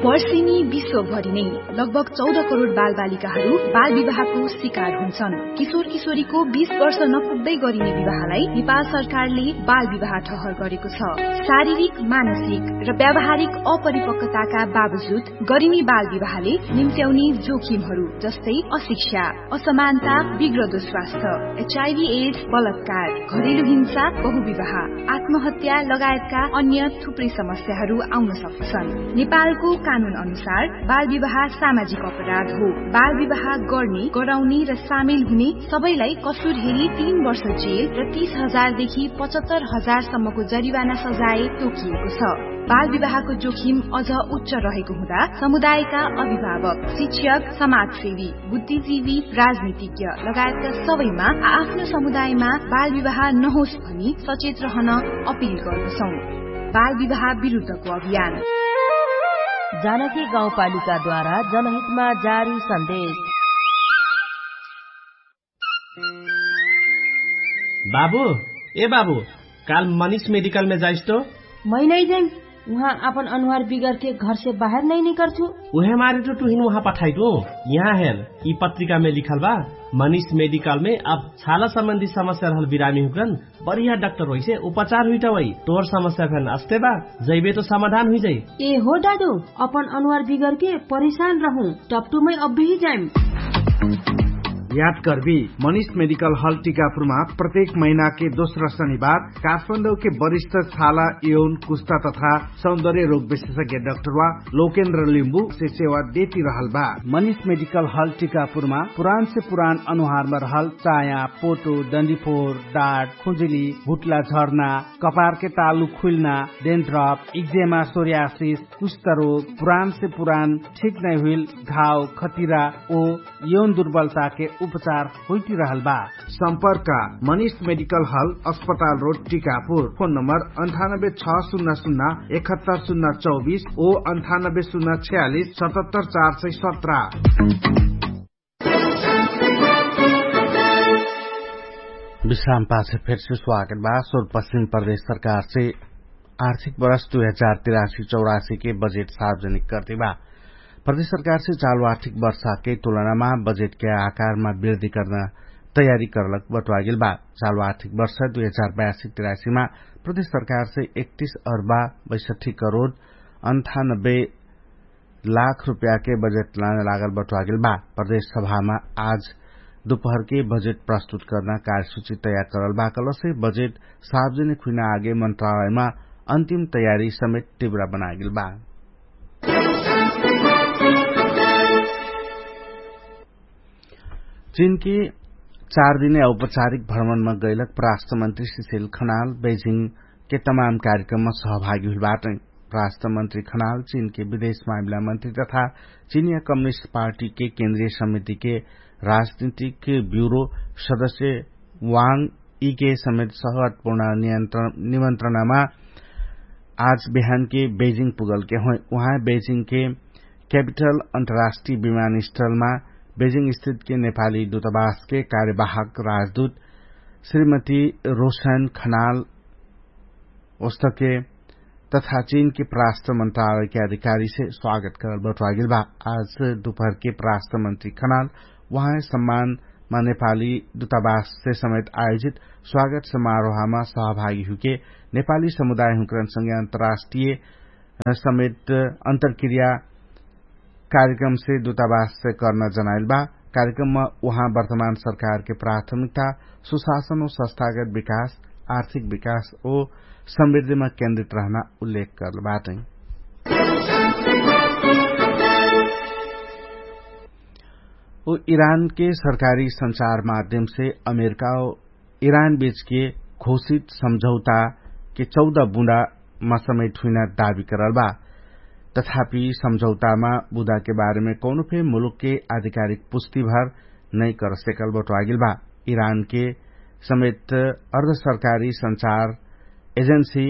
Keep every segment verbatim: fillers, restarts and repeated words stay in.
वर्षेनी विश्वभरि नै लगभग चौध करोड बालबालिकाहरू बालविवाहको शिकार हुन्छन्। किशोर किशोरीको बीस वर्ष नपुग्दै गरिने विवाहलाई नेपाल सरकारले बालविवाह ठहर गरेको छ। शारीरिक, मानसिक र व्यावहारिक अपरिपक्वताका बावजुद गरिने बालविवाहले निम्त्याउने जोखिमहरू जस्तै अशिक्षा, असमानता, बिग्रदो स्वास्थ्य, एचआइभी एड्स, बलात्कार, घरेलु हिंसा, बहुविवाह, आत्महत्या लगायतका अन्य थुप्रै समस्याहरू आउन सक्दछन्। नेपालको कानुन अनुसार बालविवाह सामाजिक अपराध हो। बालविवाह गर्ने, गराउने र सामेल हुने सबैलाई कसुर हेरी तीन वर्ष जेल र तीस हजार देखि पचहत्तर हजार सम्मको जरिवाना सजाय तोकिएको छ। बालविवाहको जोखिम अझ उच्च रहेको हुँदा समुदायका अभिभावक, शिक्षक, समाजसेवी, बुद्धिजीवी, राजनीतिज्ञ लगायतका सबैमा आ-, आफ्नो समुदायमा बालविवाह नहोस् भनी सचेत रहन अपिल गर्दछौँ। बालविवाह विरुद्धको अभियान। जानकी गाउँपालिकाद्वारा जनहितमा जारी सन्देश। बाबु, ए बाबु, काल मनिष मेडिकलमे जाइस तो? मै नै जैम। उहाँ आपन अनुहार बिगरके घरसे बाहेर नै निकर्छु। उहे मारे तो टुहिन उहाँ पठाइदु। यहाँ हेर, यि पत्रिकामे लिखल बा, मनिष मेडिकलमे अब छाला सम्बन्धी समस्या रहल बिरामी हुकरन बढिया डाक्टर होइसे उपचार हुइटा वै। तोर समस्या फेन अस्ते बा, जैबे तो समाधान हुइजाइ। ए हो दादु, अपन अनुहार बिगरके परेशान रहु, टपटुमै अब्बेही जाइम। याद करबी, मनिष मेडिकल हल टिकापुरमा प्रत्येक महिनाके दोस्रा शनिबार काठमाडौके वरिष्ठ छाला, यौन, कुस्ता तथा सौन्दर्य रोग विशेषज्ञ डाक्टरवा लोकेन्द्र लिम्बु से सेवा देती रहल बा। मनिष मेडिकल हल टिकापुरमा पुरान से पुरान अनुहारमा रहल चाया, पोटो, डन्डीफोर, डाट, खुजुली, भुट्ला झर्ना, कपारके तालु खुल्ना, डेन्ड्रप, इक्जेमा, सोरियासिस, कुष्ठरोग, पुरान से पुरान ठीक नै हुइल घाव, खतिरा ओ यौन दुर्बलताके उपचार होइटिरहल बा। सम्पर्क मनिष मेडिकल हल, अस्पताल रोड, टिकापुर। फोन नम्बर अन्ठानब्बे छ शून्य शून्य एकहत्तर शून्य चौबिस ओ अन्ठानब्बे शून्य छयालिस सतहत्तर चार सय सत्र। विश्राम पाछे फेरसे स्वागत बा। सोर पश्चिम प्रदेश सरकारसे आर्थिक वर्ष दुई हजार तिरासी चौरासीके बजेट सार्वजनिक कर्ति बा। प्रदेश सरकारसे चालु आर्थिक वर्षाके तुलनामा बजेटके आकारमा वृद्धि कर्ना तयारी कर्लक बटुवागेल बा। चालु आर्थिक वर्ष दुई हजार बयासी तिरासीमा प्रदेश सरकारसे एकतिस अर्बा बैसठी करोड अन्ठानब्बे लाख रुपयाके बजेट लान लागल बटुवागेल बा। प्रदेश सभामा आज दुपहरके बजेट प्रस्तुत कर्ना कार्यसूची तयार करल बा कहलसे बजेट सार्वजनिक हुइना आगे मन्त्रालयमा अन्तिम तयारी समेत टिब्रा बनागेल बा। चिनके चार दिने औपचारिक भ्रमणमा गैलक पराष्ट्रमन्त्री सिसेल खनाल बेजिङके तमाम कार्यक्रममा सहभागी हुइल बाटै। पराष्ट्रमन्त्री खनाल चिनके विदेश मामिला मन्त्री तथा चिनिया कम्युनिस्ट पार्टीके केन्द्रीय समितिके राजनीतिक ब्युरो सदस्य वाङ इके समेत सहगतपूर्ण निमन्त्रणामा आज बिहानके बेजिङ पुगलके होइ। उहाँ बेजिङके क्यापिटल अन्तर्राष्ट्रिय विमानस्थलमा बेजिङ स्थितके नेपाली दुतावासके कार्यवाहक राजदूत श्रीमती रोशन खनाल ओस्तके तथा चिनके पराष्ट्र मन्त्रालयके अधिकारीसे स्वागत करल बटुवागेल बा। आज दुपहरके पराष्ट्र मन्त्री खनाल उहाँ सम्मानमा नेपाली दुतावाससे समेत आयोजित स्वागत समारोहमा सहभागी हुके नेपाली समुदाय हुँकरन संगे अन्तर्राष्ट्रिय समेत अन्तरक्रिया कार्यक्रमसे दुतावाससे कर्ना जनाइल बा। कार्यक्रममा उहाँ वर्तमान सरकारके प्राथमिकता सुशासन ओ संस्थागत विकास, आर्थिक विकास ओ समृद्धिमा केन्द्रित रहना उल्लेख कर्ल बाटै। उ इरानके सरकारी सञ्चार माध्यमसे अमेरिका ओ इरान बीचके घोषित सम्झौताके चौध बुँडामा समेट हुइना दाबी करल बा। तथापि सम्झौतामा बुँदाके बारेमे कौनो फे मुलुकके आधिकारिक पुष्टिभर नै करसेकल बटुवागेल बा। इरानके समेत अर्धसरकारी सञ्चार एजेन्सी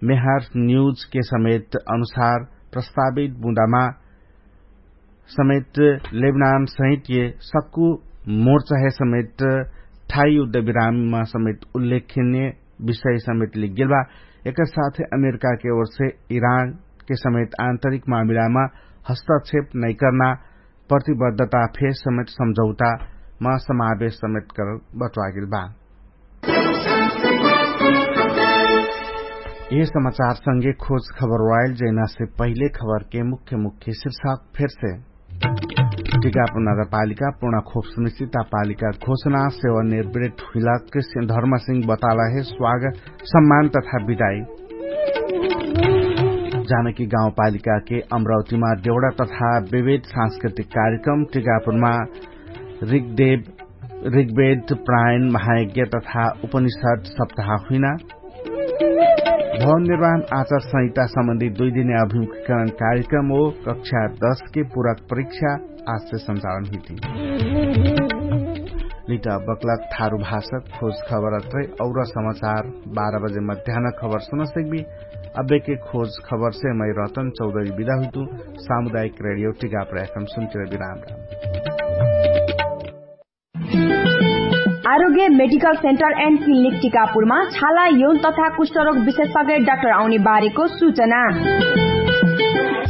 मेहार न्युजके समेत अनुसार प्रस्तावित बुँदामा समेत लेबनान सहित ये सक्कु मोर्चाहे समेत ठाई युद्ध विराममा समेत उल्लेखनीय विषय समेत लिखगेल बा। एकर साथे अमेरिकाके ओरसे इरान के समेत आन्तरिक मामिलामा हस्तक्षेप नैकर्ना प्रतिबद्धता फेर समेत सम्झौतामा समावेश समेत करल बट्वागेल बा। यह समाचार संगे खोज खबर वाइल जैना से पहिले खबर के मुख्य मुख्य शीर्षक फेर से। टिकापुर नगरपालिका पूर्णा खोप सुनिश्चितता पालिका घोषणा सेवा निर्वृत हुइलाक धर्मसिंह बताला हे स्वागत सम्मान तथा विदाई। जानकी गाउँपालिका के अमरावतीमा देउडा तथा विविध सांस्कृतिक कार्यक्रम टिकापुरमा ऋग्वेद प्रायण महायज्ञ तथा उपनिषद सप्ताह हुइना। भवन निर्माण आचार संहिता सम्बन्धी दुई दिने अभिमुखीकरण कार्यक्रम हो कक्षा दस के पूरक परीक्षा आजसे सञ्चालन हुइती। लिटा बक्लक थारु भाषक खोज खबर अत्रै और समाचार बाह्र बजे मध्यान खबर सुन सिक्बी। अबेके खोज खबर से मै रतन चौधरी बिदा हुइतु। सामुदायिक रेडियो टिकापुर एफएम सुनतिर बिराम। आरोग्य मेडिकल सेन्टर एन्ड क्लिनिक टिकापुरमा छाला यौन तथा कुष्ठरोग विशेषज्ञ डाक्टर आउने बारेको सूचना।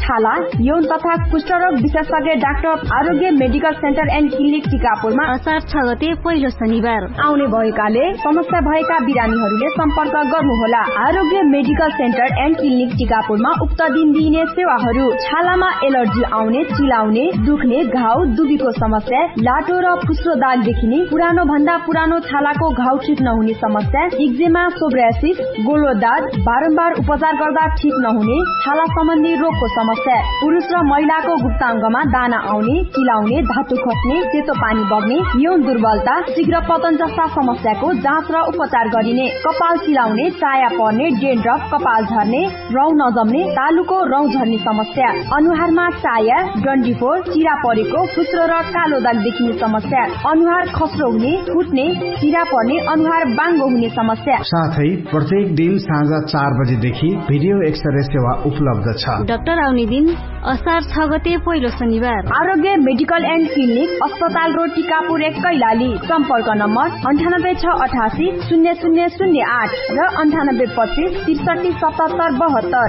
छाला यौन तथा कुष्ठरोग विशेषज्ञ डाक्टर आरोग्य मेडिकल सेन्टर एन्ड क्लिनिक टिकापुरमा असार छ गते पहिलो शनिबार आउने भएकाले समस्या भएका बिरामीहरूले सम्पर्क गर्नुहोला। आरोग्य मेडिकल सेन्टर एन्ड क्लिनिक टिकापुरमा उक्त दिन दिइने सेवाहरू छालामा एलर्जी आउने, चिलाउने, दुख्ने, घाउ दुबीको समस्या, लाटो र फुस्रो दाग देखिने, पुरानो भन्दा पुरानो छालाको घाउ ठिक नहुने समस्या, इक्जेमा, सोब्रासिस, गोलो दाग, बारम्बार उपचार गर्दा ठिक नहुने छाला सम्बन्धी रोगको समस्या, पुरुष र महिलाको गुप्ताङ्गमा दाना आउने, चिलाउने, धातु खस्ने, सेतो पानी बग्ने, यौन दुर्बलता, शीघ्र पतन जस्ता समस्याको जाँच र उपचार गरिने, कपाल चिलाउने, चाया पर्ने, डेन्ड्रफ, कपाल झर्ने, रौँ नजम्ने, तालुको रौँ झर्ने समस्या, अनुहारमा चाया, डन्डीफोर, चिरा परेको, फुस्रो र कालो दाग देखिने समस्या, अनुहार खस्रो हुने, फुट्ने, चिरा पर्ने, अनुहार बाङ्गो हुने समस्या। साथै प्रत्येक दिन साँझ चार बजेदेखि भिडियो एक्सरे सेवा उपलब्ध छ। डाक्टर आउने दिन असार छ गते पहिलो शनिबार। आरोग्य मेडिकल एन्ड क्लिनिक, अस्पताल रोड, टिकापुर एक, कैलाली। सम्पर्क नम्बर अन्ठानब्बे छ अठासी शून्य शून्य शून्य आठ र अन्ठानब्बे पच्चिस त्रिसठी सतहत्तर बहत्तर।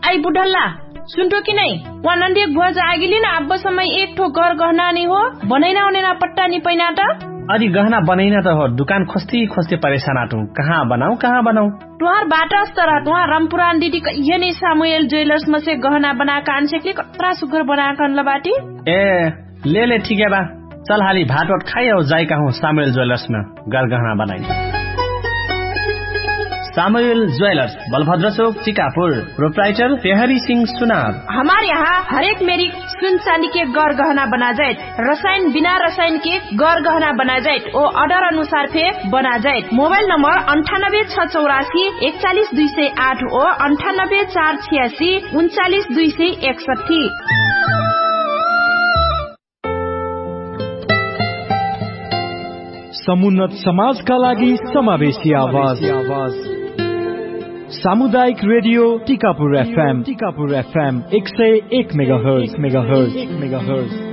आई बुढल्ला, सुन्ठो कि नै? वा नन्दियक भुवाज आगिली न आब्ब समय एक ठो गर गहना नि हो, बनैना ओनेना पट्टा नि पैना त। अरि गहना बनैना त हो, दुकान खोस्ती खोस्ती परेशान आटु। कहाँ बनाउ, कहाँ बनाउ? तुहार बाटा अस्तर ह, तुहार रमपुरान दिदी कहिया नि सामुएल ज्वेलर्स मसे गहना बनाक आन सेकली, कत्रा सुग्घर बनाक अनल बाटी। ए, ले ले, ठिकै बा। चल हाली भात वात खाइ औ जाइ कहु सामुएल ज्वेलर्स मे गरगहना बनाइ। सामुएल ज्वेलर्स, बलभद्र चोक, चिकापुर। प्रोप्राइटर पेहरी सिंह सुनार। हमार यहाँ हरेक मेरी सुन चाँदी के गरगहना बना जाइत, रसाइन बिना रसाइन के गरगहना बना जाइत ओ अर्डर अनुसार फे बना जाइत। मोबाइल नम्बर अन्ठानब्बे छ चौरासी एकचालिस दुई सय आठ ओ अन्ठानब्बे चार छियासी उन्चालिस दुई सय एकसट्ठी। समुन्नत समाजका लागि समावेशी आवाज। सामुदायिक रेडियो टिकापुर एफएम, टिकापुर एफएम एक सय एक मेगाहर्ज, मेगाहर्ज, मेगाहर्ज।